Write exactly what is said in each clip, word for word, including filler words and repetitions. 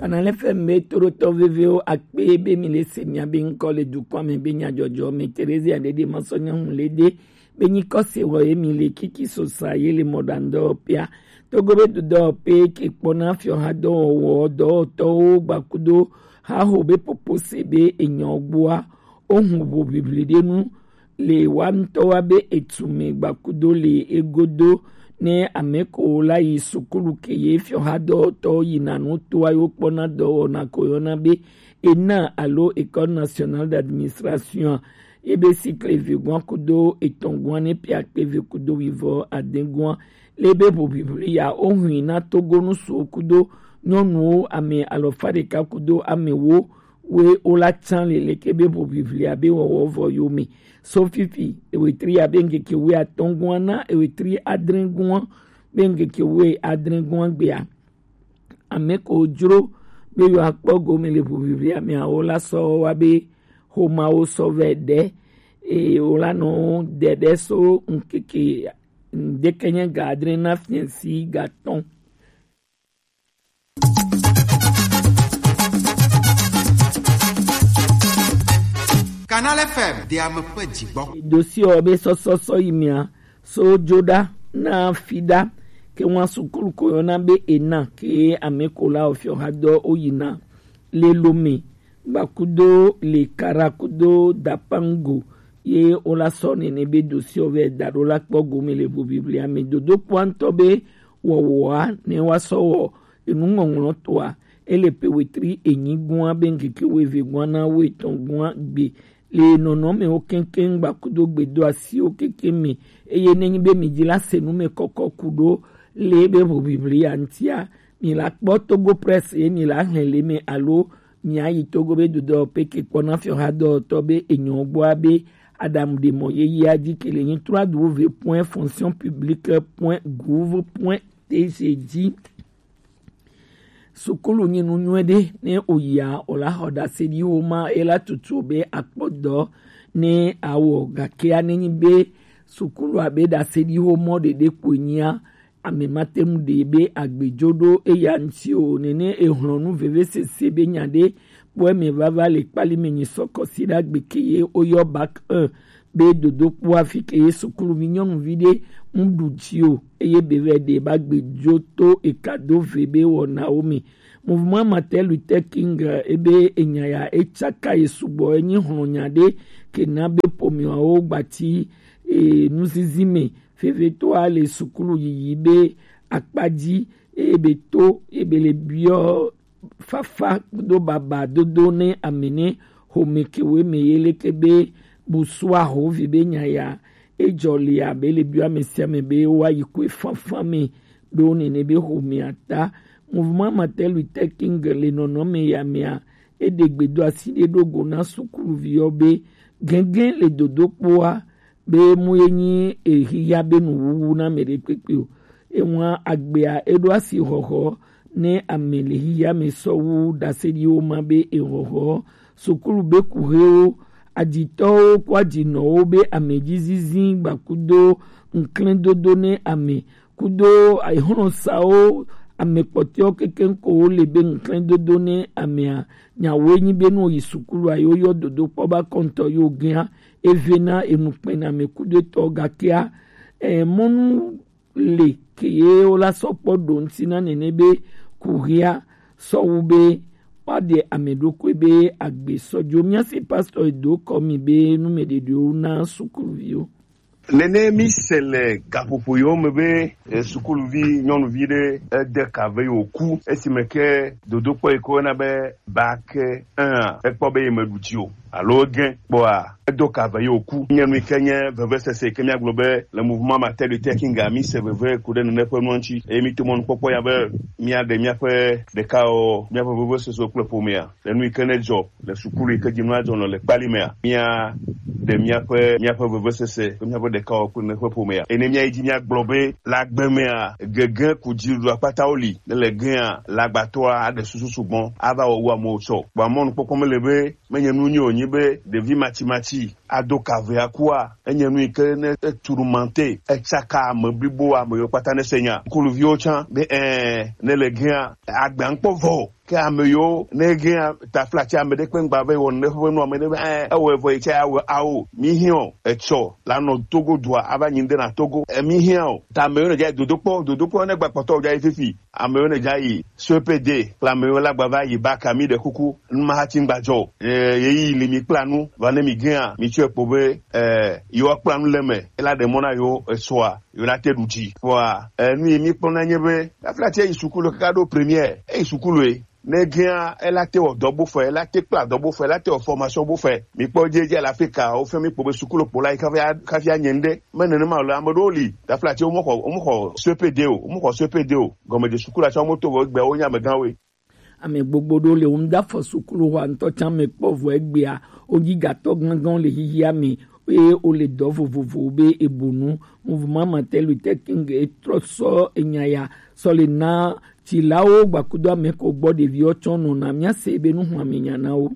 Kanal F M be toɖotɔ vevewo akpe be mi le se mia be ŋkɔ le dukɔa me be nyajɔjɔ me Teresia ɖeɖe masɔ nyɔnu le ɖe be nyikɔ se wɔ ye mi le kiki sosa ye le mɔɖaŋdɔ pia. Togo be dudɔ pe ke kpɔna fiɔha dɔwɔwɔ dɔwɔtɔwo gbakudo haho be popo se be enyɔ gbua. Ohun ʋu bibli ɖe nu le wa ŋutɔ wa be etu me gbakudo le egodo ne ame ko la yi sukulu ke ye fiɔhadɔtɔ yina nu toa yo kpɔna dɔwɔna ko yɔna be ena alo École nationale d'administration. Ebe sikle vegoa kudo etɔn goa ne pia kpe ve kudo wivɔ aden goa le be ʋu bibli ya ohun na Togo nu so kudo nyɔnuwo ame alɔfa ɖeka kudo ame wo we wo la tsan le leke be ʋu biblia be wɔwɔ vɔ yo me. So fifi ewetri ya be ŋkeke we atɔn goa na ewetri adre goa be ŋkeke we adre goa gbea. Ame ko dzro be yo akpɔ gome le ʋu biblia me awo la sɔ wa be xomawo sɔ vɛ ɖe eye wo la nɔ ɖeɖe so ŋkeke ŋdeke nye ga adre na fiɛsi ga tɔn. Kanal F M de ame ƒe dzigbɔ. Dosiɔ be sɔsɔsɔ yi mia so dzoɖa na fiɖa ke ŋua sukulu ko yɔna be ena ke ame ko la ofiɔ ha dɔ o yina le Lome gbakudo le Kara kudo Dapango ye o la sɔ nene be dosiɔ vɛ da ɖo la kpɔ gome le ʋu biblia me dodo kpɔa ŋutɔ be wɔwɔa ne wa sɔ wɔ enuŋɔŋlɔ toa ele pe wetri enyi gua be ŋkeke weve gua na wo etɔn gua gbe le nɔnɔmewo keŋkeŋ gbakudo gbedo asiwo keŋkeŋ me eye nenyi be mi dzi la se nu me kɔkɔ ku ɖo le be ʋu biblia ŋutia mi la kpɔ Togo Press ye mi la hlɛ le me alo mi ayi Togo be dodɔ pe ke kpɔ na fiɔ ha dɔtɔ be enyɔ gbɔa be adamu de mɔ ye yia dzi ke le nyi trois w point fonction publique point gouv point T G dzi. Sukulu nyi nu nyuie ɖe ne oyia o la xɔ ɖaseɖiwo ma e la tutu be akpɔdɔ ne awɔ gakea ne nyi be sukulu abe ɖaseɖiwo mɔ ɖeɖe kpoe nyia ame ma te ŋu ɖe be agbedzo ɖo eya ŋuti o nene ehlɔnu vevesese be nya ɖe kpɔe me vava le kpali me nyi sɔ kɔsi ɖe agbe ke ye woyɔ bac un be dodokpo afi ke ye sukuluvi nyɔnuvi ɖe ŋu ɖu dzi o eye be vɛ ɖe ba gbedzo to eka do ve be wɔnawo me. Mouvement Martin Luther King ebe enya ya etsaka ye sugbɔ enyi hlɔnya ɖe ke na be pomiawo gbati e, nuzizi me vevitɔa le sukulu yiyi be akpa dzi eye be to ebe le biɔ fafa kudo baba dodo ne ame ne xome kewo me ye leke be busua ho vi be nya ya ejɔ le abe le biɔ ame sia ame be wa yi koe fafa me ɖo nene be xomea ta. Mouvement Martin Luther King le nɔnɔme ya mea eɖe gbedo asi ɖe ɖo go na sukuluviwo be gɛgɛ le dodokpoa be mu ye nyi exixa be nuwuwu na ame ɖe kpekpe o. Ewa agbea eɖo asi xɔxɔ ne ame le xixa me sɔwu ɖaseɖiwo ma be exɔxɔ sukulu be kuxewo aditɔwo kó adinɔwo be ame dzi zizi gbakudo ŋklɛdodo ne ame kudo exlɔsawo ame kpɔtɔewo kekeŋ ko wo le be ŋklɛdodo ne amea nyawoe nyi be ne wo yi sukulu a yewo yɔ dodo kpɔ ba kɔntɔ yewo gɛa eve na enu kpɛna ame kudo etɔ gakea eh, mɔnu le ke ye wo la sɔ kpɔ ɖo ŋuti na nene be kuhia sɔwu be woaɖe ame ɖokui be agbe sɔdzo. Míasi pastor do kɔ mi be numeɖeɖewo na sukuluviwo. Nene mi se le gaƒoƒo yiwo me be eh, sukuluvi nyɔnuvi ɖe ede ka ve yi wòku esime ke dodokpɔ yi ke woyɔna be bac un a ekpɔ be yemeɖu dzi o alo egẽ kpɔa edo ka ve yi wòku. Nye nu yi ke nye vevesese yi ke míagblɔ be le mouvement Martin Luther King a mi se veve ku ɖe nene ƒe nua ŋuti eye mi to mɔnukpɔkpɔ ya be míaɖe míaƒe ɖekawɔwɔ míaƒe vevesesewo kple ƒomea le nu yi ke nedzɔ le sukulu yi ke dzi nua dzɔ nɔ le kpali mea, mía ɖe míaƒe míaƒe vevesese kple míaƒe ɖekawɔwɔ kple míaƒe ƒomea. Ene míayi dzi míagblɔ be le agbe mea, gege ku dziɖuɖu akpatawo li. Ne le gea, le agbatɔa aɖe susu sugbɔ ava wɔ wu amewo tsɔ. Vɔa mɔnukpɔkpɔ mele be menye nu nyui wònyi be ɖevi matsimatsi ado ka ve akua. Enye nu yi ke ne etu ɖu mante, etsaka ame blibo ame yiwo kpata ne se nya. Sukuluviwo tsã be ẽ, ne le gea, agbea ŋkpɔ vɔ o. Ke ame yiwo ne gɛa taflatsi ame ɖe kpe ŋgba be wɔ ne ƒe nu ame ɖe be ɛ ewɔe vɔ yi tsa awɔ awo mi hiã o etsɔ la nɔ Togo dua ava nyi ŋde na Togo emi hiã o ta ame yiwo ne dza yi dodokpɔ dodokpɔ ne gba kpɔtɔ dza yi fifi ame yiwo ne dza yi C P D kple ame yiwo la gba va yi ba ka mi ɖe kuku nu ma hati ŋgba dzɔ o. Ɛ yeyi li mi kpla nu va ne mi gɛa mi tsɔe kpɔ be ɛ yiwo kpla nu le me ela ɖe mɔ na yiwo esɔa yiwo la te ɖu dzi. Vɔa ɛ nu yi mi kpɔna nye be taflatsi yi sukulu kaka ɖo première eyi sukulu yi ne gɛa ela te wɔ dɔ bo fɛ ela te kpla dɔ bo fɛ ela te wɔ formation bo fɛ mi kpɔ dze dze la fi ka wo fɛ mi kpɔ be sukulu kpɔ la yi kafi a- kafi anye ŋde me nene ma le ame ɖewo li taflatsi wo mo xɔ wo mo xɔ C P D o wo mo xɔ C P D o gɔme dze sukulu atsa wo mo to vɔ egbe wo nya me gã we. Ame gbogbo ɖewo le wo ŋda fɔ sukulu xɔa ŋutɔ tsã me kpɔ vɔ egbea wo dzi gatɔ gãgãwo le xixia me eye wo le dɔ vovovowo be ebo nu. Mouvement Martin Luther King etrɔ sɔ enya ya sɔ le na dzilawo gbakudo ame ko gbɔ ɖeviwo tsɔ nɔna míase be nuxlɔ̃ame nya na wo.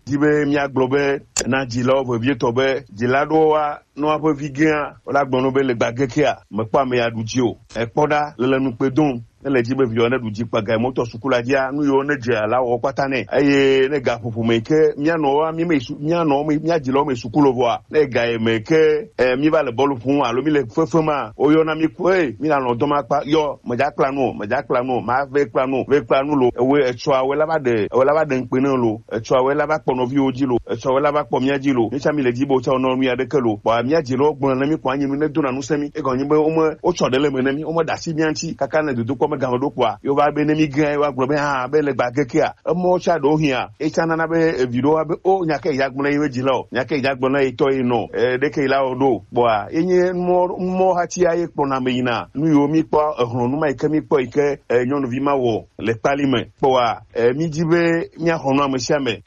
Di be míagblɔ be na dzilawo vevietɔ be dzila ɖewo wa nɔ aƒe vi gẽa wola gblɔ nɔ be le gbagekea mekpɔ ame ya ɖu dzi o ekpɔ ɖa le le nukpe dom ne le dzi be viwo ne ɖu dzi kpaga mɔtɔ sukula dzia nu yiwo ne dze la wɔ kpata nɛ eye ne gaƒoƒo me ke mía nɔwoa mí me su mía nɔ me mía dzilawo me sukulo vɔa ne ga yi me ke eh, mí va le bɔlu ƒom alo mí le fefe ma woyɔna mí kpɔ ey mí na nɔ dɔma kpa yɔ medza kpla nu o medza kpla nu o ma ve kpla nu o ve kpla nu lo ewe etsɔa wɛ la va ɖe ewe la va ɖe ŋkpe ne lo etsɔa wɛ la va kpɔ nɔviwo dzi lo etsɔa wɛ la va kpɔ mía dzi lo mí tsã mí le dzi be wotsã wonɔ nu ya ɖeke lo kpɔa mía dzilawo gblɔ ne mí kpɔ anyi nu ne dona nu se mí egɔnyi be wome wotsɔ ɖe le me ne mí wome ɖe asi mía ŋuti kaka ne dodokpɔ me game ɖo kpɔa yewo va be ne mí gẽ yewo agblɔ be hã be le gba gekea emɔwo tsã ɖewo hiã etsã nana be evi ɖewo wa be o nya ke ya gblɔ ye dzi la o nya ke ya gblɔ na ye tɔ ye nɔ e ɖeke la o ɖo kpɔa ye nye mɔ mɔ hati ya ye kpɔna me yina nu yiwo mí kpɔ ehlɔnu ma yi ke mí kpɔ yi ke e nyɔnuvi ma wɔ le kpali me kpɔa e mí di be mía xɔ nu ame sia ame.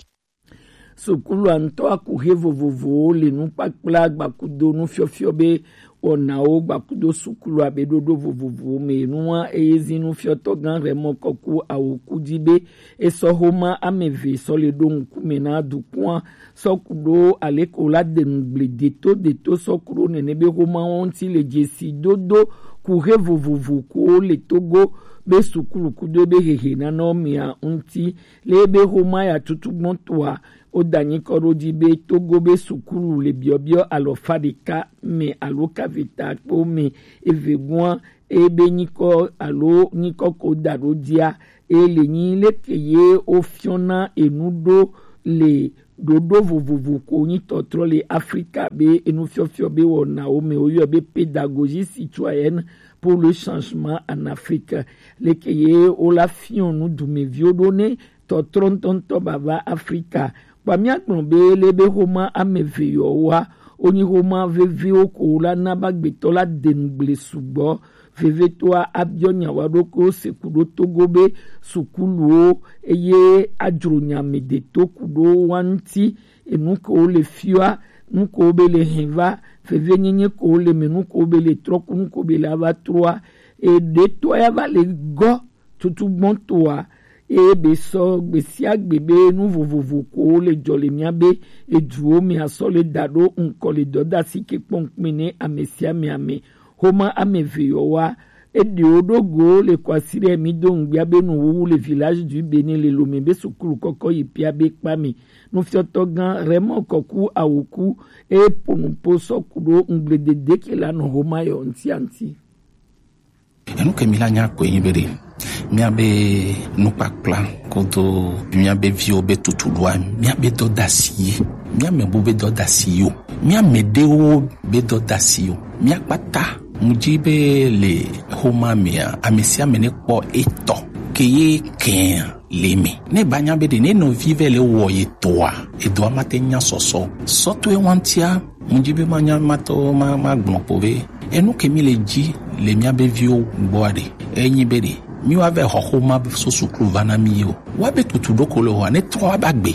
Sukulua ŋutɔ akuxe vovovowo le nukpakpla gbakudo nufiɔfiɔ be wɔnawo gbakudo sukulua be ɖoɖo vovovowo me nua eye zi nufiɔtɔ gã Raymond Kɔku Awoku di be esɔ xoma ame eve sɔ le ɖo ŋkume na dukua sɔ ku ɖo aleko la de nugble deto deto sɔ ku ɖo nene be xomawo ŋuti le dzesi dodo kuxe vovovo kowo le Togo be sukulu kudo ebe hehe nana wo mea ŋuti. Le ebe xoma ya tutugbɔ toa, woda nyikɔ ɖo dzi be Togo be sukulu le biɔbiɔ alɔfa ɖeka me alo kaveta kpewo me eve gɔa ebe nyikɔ alo nyikɔ ko da ɖo dzia, e le nyi leke ye wofiɔna enu ɖo le ɖoɖo vovovo ko nyi tɔtrɔ le Afrika be enufiɔfiɔ be wɔnawo me woyɔe be pédagogie citoyenne pour le changement en Afrique. Leke ye wola fiɔ nu dumeviwo ɖo ne tɔtrɔ ŋutɔŋutɔ bava Afrika. Kpa míagblɔ be le be xoma ame eve yɔwoa, wonyi xoma veviwo ko la na be agbetɔ la de nugble sugbɔ. Vevitɔa abiɔ nya wa ɖokuiwo se ku ɖo Togo be sukuluwo eye adzro nya me de to ku ɖo wa ŋuti. Enu ke wo le fiɔa, nu ke wo be le hɛn va, vevienyenye ke wo le me, nu ke wo be le trɔ ku, nu ke wo be le ava trɔa, eɖetɔa ya va le gɔ tutugbɔtɔa eye be sɔ gbesiagbe be nu vovovo ko le dzɔ le mía be eduwo me asɔ le da ɖo ŋkɔ le dɔdasi ke kpɔnkpin ne ame sia ame ame xoma ame eve yɔwoa eɖewo ɖo go le kɔ asi ɖe mi do ŋgbia be nuwuwu le village du Bénin le Lomé be sukulu kɔkɔ yi pia be kpa me nufiɔtɔ gã Raymond Kɔku Awoku eye ponupo sɔ ku ɖo ŋgble dede ke la nɔ xoma yɔ ŋtiaŋti. Enu ke mi la nya koe nyi be ɖe míabe nukpakpla kodo míabe viwo be tutuɖoa míabe dɔdasi ye míame bu be dɔdasi yo míame ɖewo be dɔdasi yo míakpata mu dzi be le xoma mea ame sia ame ne kpɔ etɔ ke ye kɛa le me ne ba nya be ɖe ne nɔvi vɛ le wɔ ye toa edoa mate nya sɔsɔ sɔtɔe wantia Ŋdi be manya matɔ ma ma gblɔ kpo be enu ke mi le dzi le mía be viwo gbɔa ɖe enyi be ɖe mi wa vɛ xɔ xoma so suklu va na mi ye o. Wa be tutu ɖo ko le xɔa ne trɔ wa ba gbe.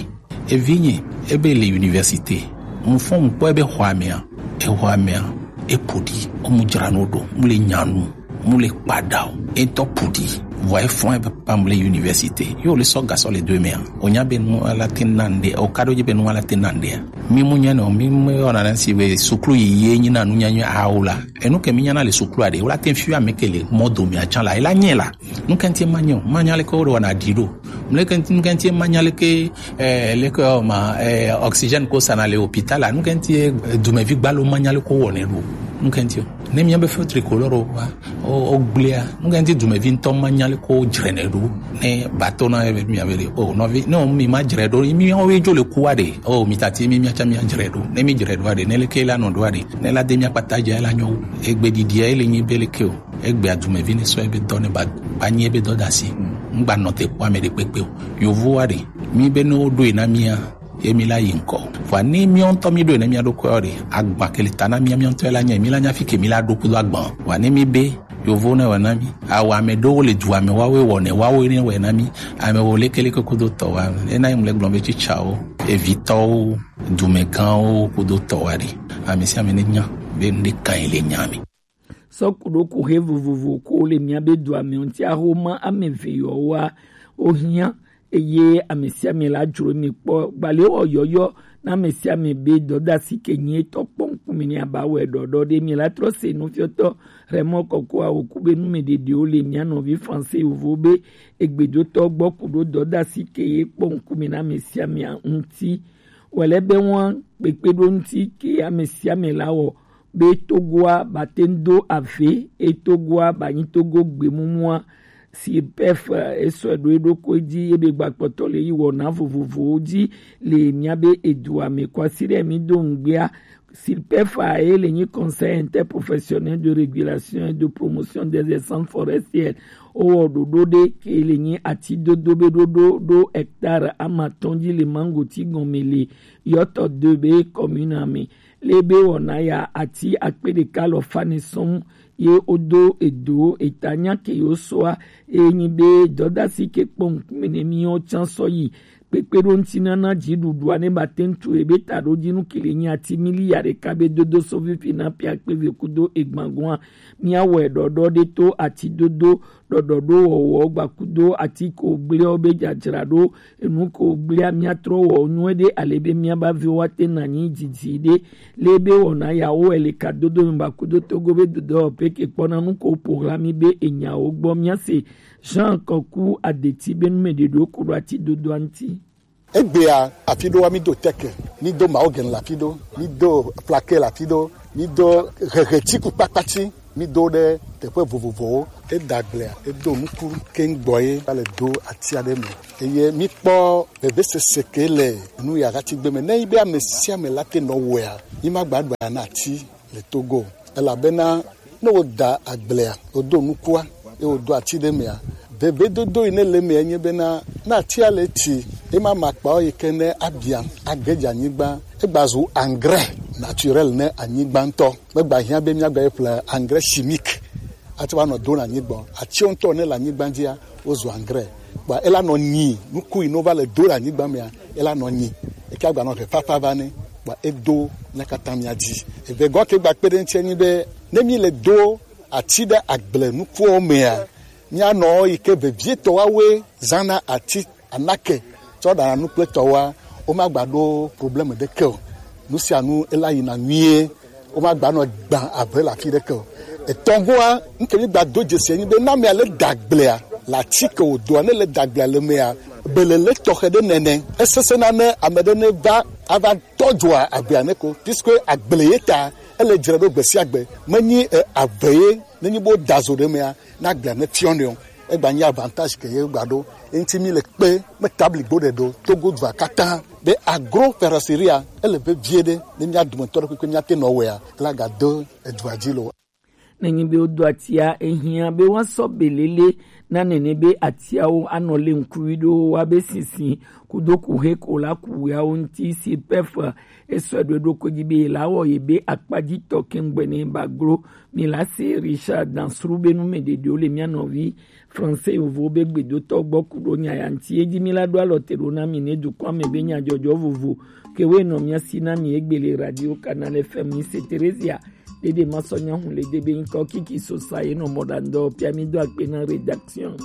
Evi nye ebe le université. Mu fɔ mu kpɔ ebe xɔa mea exɔa mea epo ɖi ɔmu dzra no ɖo mu le nya nu mu le kpa ɖa o. Etɔ pu ɖi vɔ efɔ ebe pam le université yo le sɔ gasɔ le do emea. O nya be nu ala te na ŋɖe o ka ɖo dzi be nu ala te na ŋɖea. Mi mu nya nɔ mi mu yɔ na si be suklu yi ye nyi na nu nya nyi awo la. Enu ke mi nya na le suklu aɖe wala te fi ame ke le mɔ do mi atsa la ela nye la. Nu ke ŋti ma nyo ma nya le ko ɖo na ɖi ɖo. Mleke ŋti, nuke ŋti manya leke, eh, leke, oh, ma, eh, oxygène ko sana le hôpital a, nuke ŋti, eh, dumevi gbalo manya leke wɔ ne ɖo. Nuke ŋti o. Ne mia be feu tricolore o wa, o, o gblea, nuke ŋti dumevi ŋtɔ manya leke wo dzre ne ɖo. Ne bato na ebe mia be le, oh, nɔvi, ne o mi ma dzre ɖo, mi o we dzo le kuwa de. Oh, mi tati mi mia tsa mia dzre ɖo. Ne mi dzre ɖo a de, ne leke la nɔ ɖo a de. Ne la de mia kpata dza la nyo. Egbe ɖiɖia ele nyi be leke o. Egbea dumevi ne sɔ ebe dɔ ne ba, ba nyi ebe dɔ da si. Ŋgba nɔ te kpɔ ame ɖe kpekpe o. Yovowa ɖe, mi be ne woɖo yi na mia, ye mi la yi ŋkɔ. Vɔa ne miɔ ŋutɔ mi ɖo yi na mia ɖokuiwo ɖe, agba ke le ta na mia, mia ŋutɔ la nya, mi la nya fi ke mi la ɖo kudo agba. Vɔa ne mi be, yovo ne wɔ na mi. Awɔ ame ɖewo le dua me, woawoe wɔnɛ, woawoe ne wɔ na mi. Ame wo lekeleke kudo tɔ wa. Ena yi mu le gblɔ be tsitsawo, evitɔwo, dumegãwo kudo tɔ wa ɖe. Ame sia ame ne nya be nu ɖe kan yi le nya me. Sɔkuɖo kuhe vovovo ko le mia be dua me ŋuti ahoma ame eve yɔ wa ohia eye ame sia ame la dzro mi kpɔ. Gbale wɔ yɔyɔ na ame sia ame be dɔdasi ke nyi etɔ kpɔ ŋkume ne aba wɛ ɖɔɖɔ ɖe mi la trɔ se nufiɔtɔ Raymond Kɔkɔ awoku be numeɖeɖewo le mia nɔvi français yovo be egbedotɔ gbɔ ku ɖo dɔdasi ke ye kpɔ ŋkume na ame sia ame ŋuti. Wɛlɛ be ŋua kpekpe ɖo ŋuti ke ame sia ame la wɔ be Togoa ba te ŋu do ave, e Togoa ba nyi Togo gbemumua, si pef, eh, esɔe ɖo eɖokui dzi, ebe gbakpɔtɔ le yi wɔna vovovowo dzi le mia be edua me. Kwasi ɖe mi do ŋgbea, si pef a ye le nyi Conseil interprofessionnel de régulation et de promotion des essences forestières. Owɔ ɖoɖo ɖe ke le nyi ati dodo be ɖoɖo ɖo hectare amatɔn dzi le mangoti gɔme le Yɔtɔ de be commune me. Le be wɔna ya ati akpe ɖeka lɔ fane sɔn ye wodo edo eta nya ke yo soa, e nyi be dɔdasi ke kpɔ ŋkume ne mi o tsan sɔ yi kpekpe ɖo ŋuti nana dziɖuɖua ne ba te ŋu tu ebe ta ɖo dzi nu ke le nyi ati miliya ɖeka be dodo so fifi na pia kpe ve kudo egbangoa. Mia wɔ ɖɔɖɔ ɖe to ati dodo ɖɔɖɔ ɖo wɔwɔ gbakudo ati ko gbleo be dzadzra ɖo enu ko gblea mia trɔ wɔ nyuie ɖe ale be mia ba viwo wa te na nyi dzidzi ɖe. Le be wɔna yawo ele ka dodo mi ba kudo togo be dodo pe ke kpɔna nu ko po hla mi be enyawo gbɔ mia se. Jean Kɔku Adeti be nu me ɖe ɖo ku ɖo ati dodo anti. Egbea afi ɖoa mi do teke, mi do mawo gen la fi ɖo, mi do plake la fi ɖo, mi do hehe ti ku kpakpati. Mi do ɖe teƒe vovovowo. Eda agblea, edo nuku keŋ gbɔ ye va le do ati aɖe me. Eye mi kpɔ vevesese ke le nu ya hati gbe me. Ne yi be ame sia ame la te nɔ wɔea, mi ma gba ɖua na ati le Togo o. Elabena ne woda agblea, wodo nukua, ye wodo ati ɖe mea, vevedodo yi ne le mea nye bena, ne atia le ti, ema makpawo yi ke ne abia, age dze anyigba, egba zu engrais naturel ne anyigba ŋutɔ. Megba hiã be míagba ye ƒle engrais chimique atsɔ va nɔ do le anyigba o. Atiwo ŋutɔ ne le anyigba dzia, wozu engrais. Kpɔa ela nɔ nyi, nuku yi ne wova le do le anyigba mea, ela nɔ nyi. Eke agba nɔ he fafa va nɛ, kpɔa edo mía katã mía dzi. Eve gɔ ke gba kpe ɖe ŋuti enyi be, ne mí le do ati ɖe agble nukuwo mea, míanɔ yi ke vevietɔ woawoe zãna ati anake tsɔ ɖana nu kple tɔwoa, womagba ɖo problème ɖeke o. Nu sia nu ela yina nyuie, womagba nɔ gbã ave le afi ɖeke o. Etɔ̃goa, nu ke mi gba do dzesi enyi be, ne amea le da agblea, le ati ke wòdoa, ne le da agblea le mea, belele tɔxɛ ɖe nene. Esesẽna ne ame ɖe ne va, ava tɔ dzoa agblea ne ko, puisque agble ye ta, ele dzre ɖo gbe sia gbe. Menyi, eh, ave ye, nenyi be woda zo ɖe mea, na agblea ne fiɔ nɛ o. Egba nyi avantage ke ye gba ɖo. Eŋuti mi le kpe, me tabli gbo ɖe ɖo, Togo dua katã. Be agro feroceria, ele vevie ɖe, ne mía dometɔ ɖe kpekpe mía te nɔ wɔea, ela ga do edua dzi lo. Nenyi be wodo atia, ehiã be woasɔ belele na nene be atiawo anɔ le ŋkuvi ɖo wa be sinsin kudo kuhe ko la kuwiawo ŋuti si pef esɔ ɖo ɖo ko dzi be la wɔ ye be akpadzitɔ kengbe ne ba glo. Mi la se Richard Dansru be nu me ɖeɖewo le mía nɔvi français yovo be gbedotɔ gbɔ ku ɖo nya ya ŋuti. Edzi mi la ɖo alɔ te ɖo na mi ne dukɔa me be nyadzɔdzɔ vovo ke we nɔ mía si na mi egbe le Radio Canal F M. Mi se Theresia Dede Masɔ Nyahun le de be ŋkɔ Kiki Sosa ye nɔ mɔ ɖa ŋdɔ pia mi do akpe na rédaction.